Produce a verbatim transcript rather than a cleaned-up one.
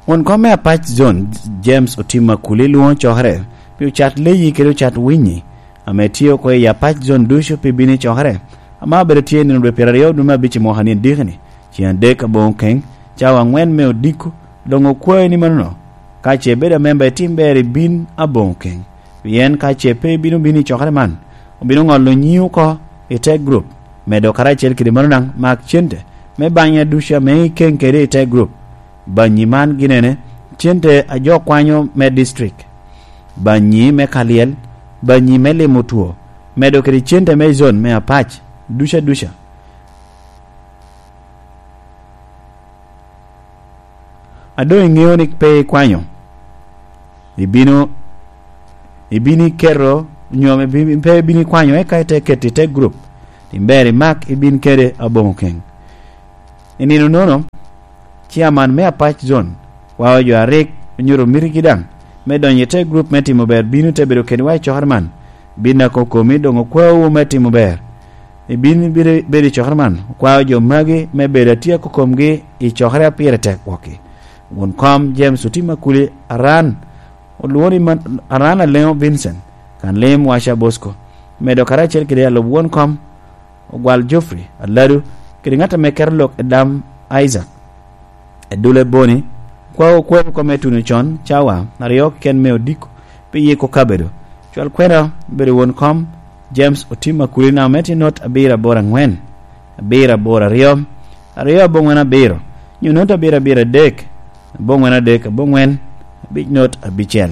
Won kom me Apac Zone, James Otim Akuli, lwoŋo cokere pi ocat leyi kede ocat winyi ame tye oko i Apac Zone ducu pi bino i cokere, ame obedo tye nino dwe pyeraryo dwe me abic i mwaka ni adiki-ni, ceŋ adek aboŋo keny, cawa aŋwen me odiko. Doŋ okwayo ni manono, ka ce ibedo amemba, itim ber ibin aboŋo keny, pien ka ce pe ibino bino i cokere man, obino ŋolo nyiŋi oko i te gurup. Medo karacel kede mano daŋ, mak cente me banya ducu ame ikeŋ kede i te gurup. Banyi man gin ene: cente a jo kwanyo me district, banyi me kalyel, banyi me limo two, medo kede cente me zone me Apac duca duca. A doŋ iŋeo ni pe ikwanyo, ibino, ibino iketo, nyo me bi-, pe ibino ikwanyo, eka ite keto i te gurup, tim ber imak ibin kede aboŋo keny. I nino nono, ciaman me Apac Zone, wa jo a rik onyuto mitigi daŋ me donyo i te gurup me timo ber, bino te bedo kedwa i cokere man. Bin nako komi doŋ okwaowu me timo ber. Ibin bedo, bedo i cokere man, okwao jo magi me bedo atyeko komgi i cokere a pire tek wokki. Won kom James Otim Akuli Aran, olwoŋo ni man, Aran Aleŋo Vincent, kan lim Waca Bosco, medo karacel kede alub won kom, Ogwal Geoffrey Aladu, kede ŋat ame keto lok Edam Isaac. Edule Boni, kwa okwer kome tuno con, cawa aryo keken me odiko, pi yiko kabedo. Cwal kwena obedo won kom, James Otim Akulina, me tye not abiro aboro aŋwen, abiro aboro aryo, aryo aboŋwen abiro, nyo not abiro abiro adek, aboŋwen adek, aboŋwen, abic not abicel.